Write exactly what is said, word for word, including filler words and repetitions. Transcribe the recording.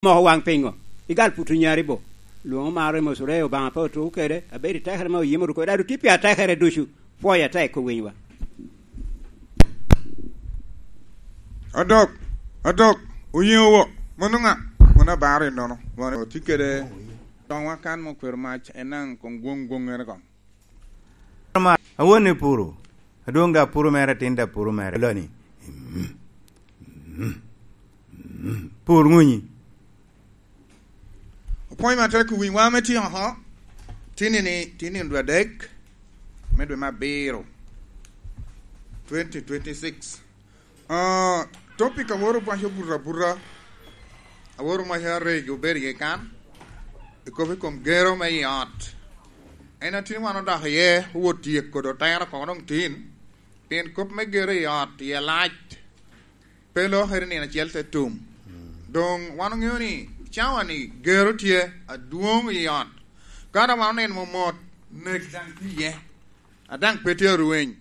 Moko waŋ pingo? Igal puto nyari bo. Lwoŋo maro i Mucurei, Obaŋa pe otuko kede, abedo i tekere me oyim oruko, dado tye pi atekere ducu. Pwoyo atek owinywa. Odok, odok, oyeŋo wo, mano ŋa? Mano abaro i nono. Wan otye kede toŋwa kan mo kwero mac, en naŋ koŋ gwoŋ gwoŋŋere koŋ. Awon ni puro, adwoŋ da puro mere atin da puro mere loni. Pur ŋunyi. Opwony matek owiny wa me tye oho. Tini ni, tini dwe adek me dwe me abiro, twenty twenty-six. Ah, topic aworo mac obuto abuta, aworo mac arego obedo iye kan, i kop i kom gero me i ot. En atin wan odok iye, owot tyeko, dok otero kono doŋ tin, pien kop me gero i ot iye lac, pe lokere nino acel te tum. Doŋ wan oŋeo ni cawa-ni gero tye adwoŋ i ot. Ka dok wan oneno momot, nek daŋ tye iye, a daŋ pe tye arweny.